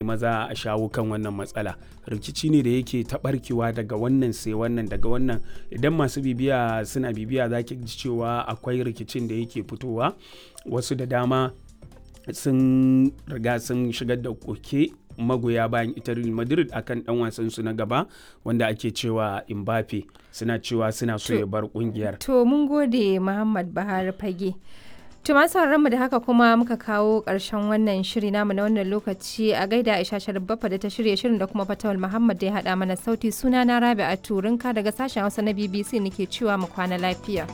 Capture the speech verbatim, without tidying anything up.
maza a shawo kan wannan matsala. Rikici ne da yake taɓarkewa daga wannan sai wannan, daga wannan. Idan masu bibiya suna bibiya, za ki ji cewa akwai rikicin da yake fitowa. Wasu da dama sun riga sun shigar da koke, magoya bayan ita Real Madrid, akan dan wasan su na gaba wanda ake cewa Mbappe, suna cewa suna so ya bar kungiyar. To mun gode, Muhammad Buhari Fage. To masu mu da haka kuma muka kawo ƙarshen wannan shiri namu na wannan lokaci. A gaida Aisha Sharif Baffa da ta shirya shirin da kuma Fatawul Muhammad da ya haɗa mana sauti. Suna na Rabi'a Turinka daga sashen Hausa na B B C nake cewa mu kwana lafiya.